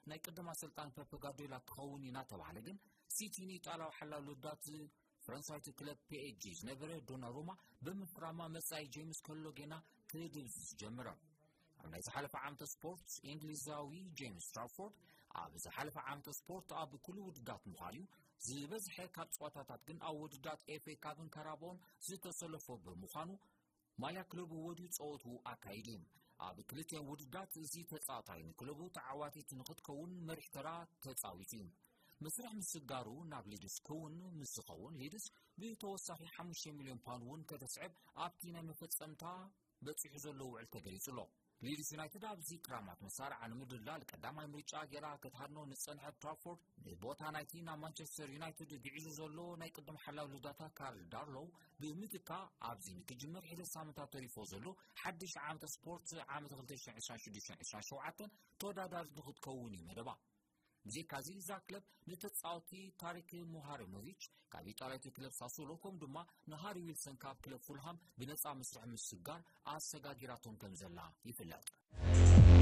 ናይ ቅድም ኣሰልጣን ፔፕ ጋርዲዮላ ክኸውን እዩ እናተባህለ ግን፣ ሲቲ ንኢጣልያዊ ሓላው ልዳት ፈረንሳዊት ክለብ ፒኤስጂ ዝነበረ ዶናሩማ ብምፍራማ መጻኢ ጄምስ ከሎጌና ክድብዝዝ ጀምረ። ኣብ ናይ ዝሓለፈ ዓመተ ስፖርት፣ እንግሊዛዊ ጄምስ ትራፎርድ ኣብ ዝሓለፈ ዓመተ ስፖርት ኣብ ኩሉ ውድዳት ምዃን እዩ ዝበዝሐ ካብ ጸዋታታት ግን ኣብ ውድዳት ኤፍኤ ካፕን ካራባኦን ዝተሰለፎ ብምዃኑ፣ ማልያ ክለቡ ወድዩ ጸወቱ ኣካይዱ። ኣብ ክልቲኦም ውድዳት እዚ ተጻዋታይ ንክለቡ ተዓዋቲት ንክትከውን መሪሕ ተራ ተጻዊቱ እዩ። መስርሕ ምስጋሩ ናብ ሊድስ ክውን ምስ ዝኸውን፣ ሊድስ ብተወሳኺ ሓሙሽተ ሚልዮን ፓውንድ እውን ከተስዕብ ኣብቲ ናይ መፈጸምታ በጺሑ ዘሎ ውዕል ተገሊጹ ኣሎ። ሊድስ ዩናይትድ ኣብዚ ክራማት መሳርዓ ንምድላል ቀዳማይ ምርጫ ገይራ ክትሃድኖ ንጸንሐት ትራፎርድ፣ ንቦታ ናይቲ ናብ ማንቸስተር ዩናይትድ ግዒዙ ዘሎ ናይ ቅድም ሓላው ልዳታ ካርል ዳርሎው ብምትካ፣ ኣብዚ ንክጅምር ሕደ ሳምንታት ተሪፎ ዘሎ ሓድሽ ዓመተ ስፖርት ዓመት ክልተ ሽሕን ዕስራን ሽዱሽተን ዕስራን ሸውዓተን ተወዳዳሪት ንክትከውን እዩ መደባ። ብዘይካዚ እዛ ክለብ ንተጻወቲ ታሪክ ሙሃሪሞቪች ካብ ኢጣልያዊት ክለብ ሳሱሎ፣ ከምኡ ድማ ንሃሪ ዊልሰን ካብ ክለብ ፉልሃም ብነጻ መስርሕ ምስጋር ኣሰጋጊራቶም ከም ዘላ ይፍለጥ።